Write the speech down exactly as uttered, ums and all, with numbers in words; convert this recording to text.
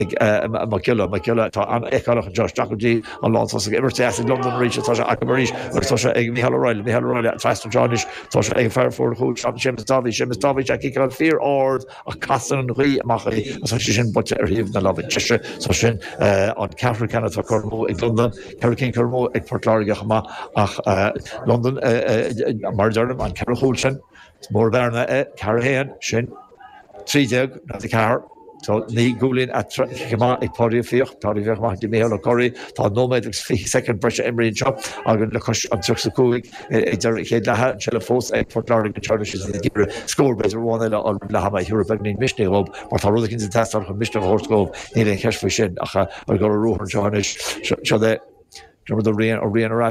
ag Mac Giolla Mac Giolla tá an-fheiceálach anseo isteach go dtí an lántosach imirt as ag Londain arís tá sé acu arís agus tá sé ag Micheál O'Reilly Micheál O'Reilly trasna anseo anois tá sé ag fear fuair chúl Séamus Dáibhí Séamus Dáibhí sé ciceáil fíor-ard ach casann an ghaoth amach é agus tá sé sin buailte ar thaobh na láimhe deise so sin an ceathrú ceann atá curtha amú ag Londain ceithre cinn curtha amú ag Port Láirge chomh maith ach Londain mar a deirim an ceithre chúl sin is mór bearna é ceathair a haon sin trí déag náid a ceathair. So naoi gcúilín chomh maith ag Páidí Ó Fiaich, Páidí Ó Fiaich amach go dtí Micheál Ó Corraí. Tá nóiméad agus fiche soicind breise imrithe anseo againn le cois an tríocha is a cúig ag deireadh an chéad leatha. An tseilbh fós ag Port Láirge anseo anois is iad ag iarraidh scór b'fhéidir amháin eile a fháil roimh leath ama a thabharfaidh beagáinín misnigh dhóibh mar tá rud eicínt ag teastáil chun misneach a thabhairt dhóibh, níl aon cheist faoi sin ach ag dul ar ruathar anseo anois. Seo é Diarmuid Ó Riain, Ó Riain ar ais.